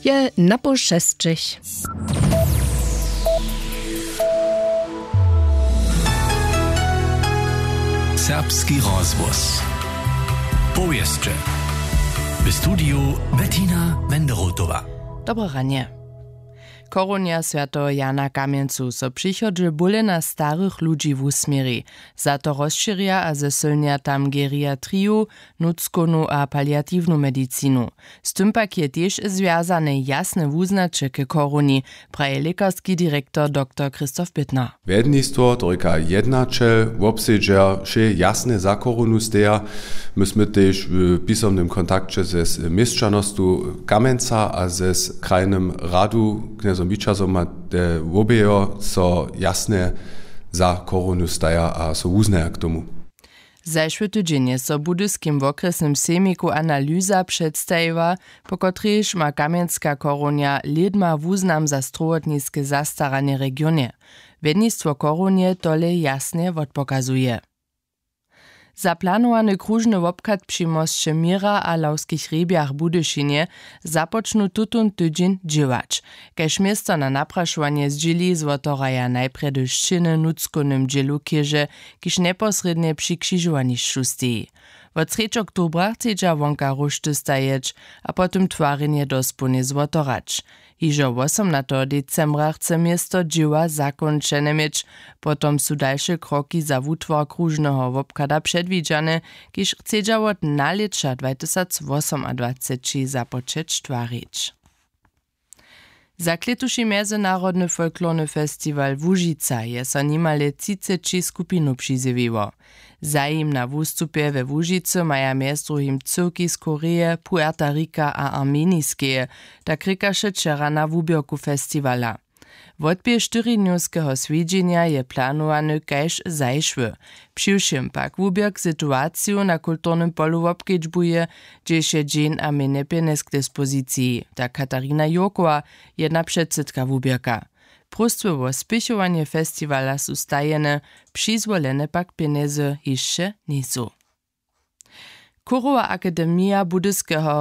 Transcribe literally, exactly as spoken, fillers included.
Je na poł šesćich. Serbski rozhłos. Powěsće. W studiju Bettina Wenderotowa. Dobre ranje. Chorunja swjateho Jana Kamjencu so přichodźe bóle na starych ludźi wusměri. Za to rozšěrja a zesylnja tam geriatriju, nutřkownu a paliatiwnu medicinu. Z tym pak je tež zwjazane jasne wuznaće k chorunji, praji lěkarski direktor doktor Christoph Bittner. Wjednistwo, to rěka jednaćel, wobsedźer wšě jasne za chorunu steja. My smy tež w pisomnym kontakće ze měšćanostu Kamjenca a ze krajnym radu knjezom Wićazom a te wobejo so jasne za chorunu staja a so wuznaja k tomu. Zašły tydźeń je so w budyskim wokrjesnym sejmiku analyza předstajiła, po kotrejž ma kamjenska chorunja lědma wuznam za strowotniske zastaranje w regionje. Wjednistwo chorunje tole jasnje wotpokazuje. Za planowany króžny wobchad při mosće měra a lawskich hrjebjach w budyšinje započnu tutón tydźeń dźěłać. Kaž město na naprašowanje zdźěli, zwotoraja najprjedy šćěny w nutřkownym dźělu chěže, kiž njeposrědnje při křižowanišću steji. Wot srjedź oktobra chcedźa wonka róšty stajeć a potom twarjenje dospołnje zwotorać. Hižo wosomnateho decembra chce město dźěła zakónčene měć. Potom su dalše kroki za wutwar króžneho wobchada předwidźane, kiž chcedźa wot nalěća dwatysacwosomadwaceći započeć twarić. Za klětuši mjezynarodny folklorny festiwal Łužica je so nimale třiceći skupinow přizjewiło. Zajim na wustupje we Łužicy maja mjez druhim cyłki z Koreje, Puerta Rika a Armeniskeje, tak rěkaše wčera na wuběrku festiwala. Wotběh štyridnjowskeho swjedźenja je planowany kaž zašły. Přiwšěm pak wuběrk situaciju na kulturnym polu wobkedźbuje, hdźež je dźeń a mjenje pjenjez k dispoziciji, tak Katarina Jurkowa, jedna předsydka wuběrka. Próstwy wo spěchowanje festiwala su stajene, přizwolene pak pjenjezy hišće njejsu. Chórowa akademija Budyskeho